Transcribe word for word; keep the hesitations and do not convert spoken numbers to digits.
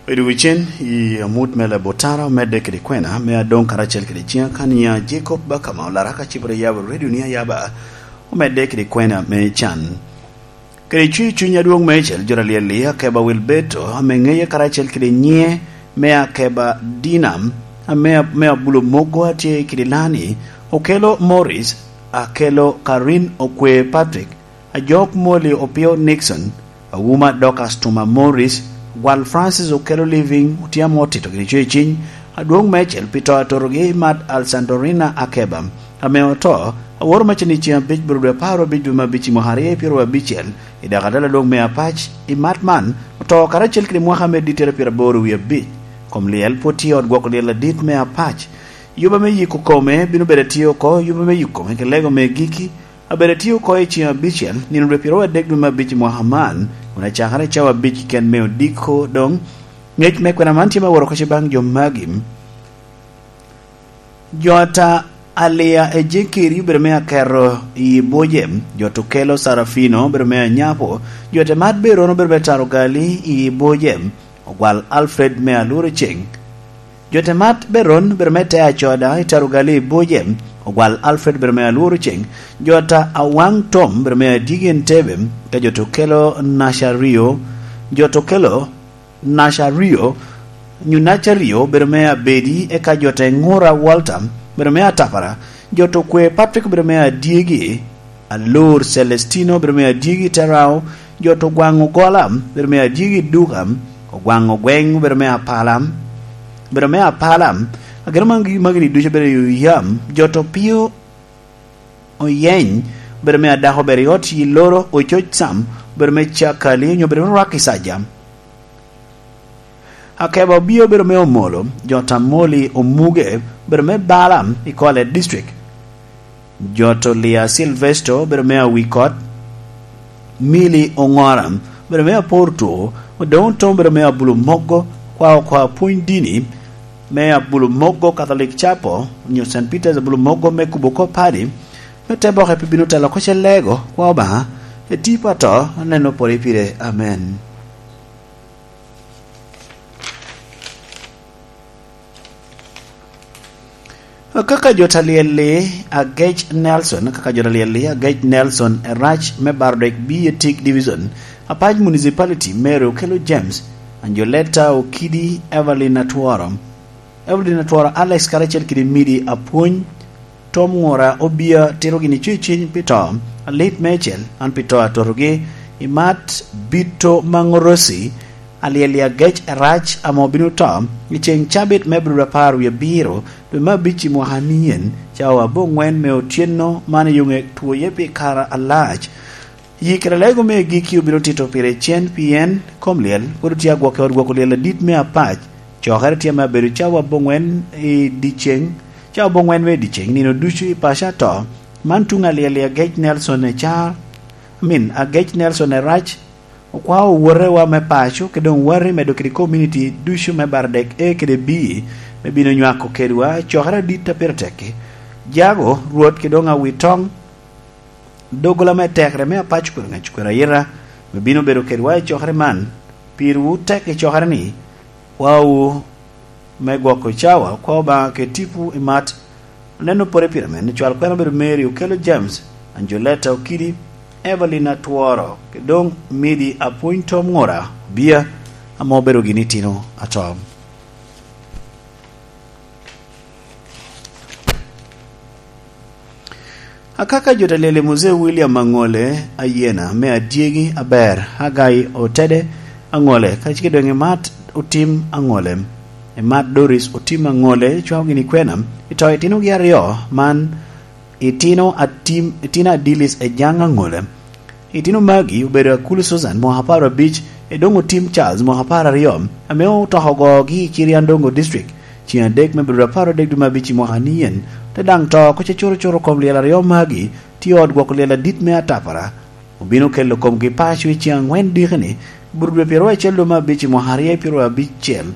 Bedo wicen i amut me Labotara omedde kede kwena me adoŋ karacel kede ciŋa kan ya Jacob Bakama olara ka cibere yabo redio ni ayaba omedde kede kwena me can. Kede cwi cuny adwoŋ me cel jora liel-li akeba Wilberto ame ŋeye karacel kede nyiŋe me akeba Dinam ame, me abulo mogo atye kede lani, okelo Morris, akelo Karin Okwe Patrick, Ajok Molly Opio Nixon, Awuma Dorcas Tuma Morris, Gwal Francis Okelo Living, Otyamo otito gini cweciny, adwoŋ mecel pi to atotogi Mat Alsandorina Akeba, ame oto, aworo macen i ceŋ abic bur dwe apar abic dwe me abic i mwaka aryo pyero abicel, i dako adal adwoŋ me Apac, i mat man, oto karacel kede mwaka me dittere pyero aboro wie abic. Kom lyel pwod tye i ot gwoko lyel adit me Apac. Yuba me yiko kome bino bedo atye oko, yuba me yiko kome ki lego me giki, abedo atye oko i ceŋ abicel, nino dwe pyeraryo adek dwe me abic i mwaka man, kun acakere i cawa abic keken me odiko doŋ. Ŋec me kwena man tye me woro oko baŋ jo magi. Jo ata Alia Ejekeri obedo me aketo i Boje, jo Tukelo Sarafino obedo me Anyapo, jo Temat Beron obedo me Tarogali i Boje, Ogwal Alfred me Alworo Ceng. Jo Temat Beron obedo me Te Acoda i Tarogali i Boje, Ogwal Alfred obedo me Alworo Ceng. Jo ata Awaŋ Tom obedo me Adyegi Entebe, ka jo Tukelo Nacario, jo Tukelo Nacario, nyo Nacario obedo me Abedi, eka jo te Ŋura Walter obedo me Atapara, jo to kwe Patrick obedo me Adyegi, Alor Celestino obedo me Adyegi Terao, jo to Gwaŋ Ogola obedo me Adyegi Duka, Ogwaŋ Ogweng obedo me Apala, obedo me Apala, ageno magi, magi ni ducu obedo i yam, jo to Pio Oyeny obedo me Adako obedo i ot i Loro, Ococ Sam obedo me Cakali, onyo obedo me Rwak i Saja. Akeba Obio obedo me Omolo, jo Tamoli Omuge obedo me Bala i Kwale District. Jo to Lia Silvesto obedo me Awikot, Mili Oŋora obedo me Apor Two, Odoŋ Otom obedo me Abulo Mogo, kwa okwa pwony dini me Abulo Mogo Catholic Chapel, onyo Saint Peter's Abulo Mogo me kubo kop padi, me te boke pi bino telo oko ce lego, kwa Obaŋa, eti pa to, aneno pore pire. Amen. Kaka jo ta lyel-li, Agec Nelson, kaka jo ta lyel-li, Agec Nelson Erac me Bardek B A Tik Division, Apac Municipality, Mary Okello James, Anjoleta Okidi, Evelyn Atworo, Evelyn Atworo Alex, karacel kede Midi Apwony, Tom Ŋura Obia tito gini cwecwiny pi to, alit mecel, an pi to atotogi, i mat Bito Maŋorosi, Alyel i agec arac ame obino to i ceŋ cabit me abirudo apar wie abiro, dwe me abic i mwaka nien, cawa aboŋwen me otyeno man i yoŋe twoye pi kare alac. Yi kede lego me giki obino tito pire cen, pien kom lyel pwod otye agwok i ot gwoko lyel adit me Apac. Cokere tye me abedo cawa aboŋwen i dyeceŋ, cawa aboŋwen me dyeceŋ, nino ducu i paco ato. Man tuŋ alyel i agec Nelson Ecar, I mean, agec Nelson Erac, okwao owotewa me paco, kede doŋ wati medo kede community ducu me Bardek A kede B, me bino nywako kedwa cokere adit a pire tekki. Jago, Rwot, kede doŋ Awitoŋ, doggola me tekere me Apac kwero ŋec kwero ayita, me bino bedo kedwa i cokere man. Pirwu tek i cokere-ni, kwawu me gwoko cawa, kwa Obaŋa kede tipo i mat. Oneno pore pire men, cwal kwena obedo Mary Okello James, Anjoleta Okidi, Evelyn Atworo, kede doŋ Midi Apwony Tom Ŋura Obia, ame obedo gin itino ato. Akaka jo ta lyel i Muzee William Aŋole, Ayena me Adyegi Aber, Hagai Otede Aŋole, kacel kede doŋ Emat Otim Aŋole, Emat Doris Otim Aŋole, cwao gini kwena, i to itinogi aryo man, itino Atim, itino Adilis Ejaŋ Aŋole. Itino magi obedo Akulu Susan mwaka apar abic, Edoŋ Otim Charles mwaka apar aryo, ame otoko ogogi i Kiriandongo District, ceŋ adek me abirudo apar adek dwe me abic i mwaka nien, te daŋ to oko ce cuto cuto kom lyel aryo magi, tye ot gwoko lyel adit me Atapara. Obino kelo komgi paco i ceŋ aŋwen diki-ni, bur dwe pyeraryo acel dwe me abic i mwaka aryo pyeraryo abic cel,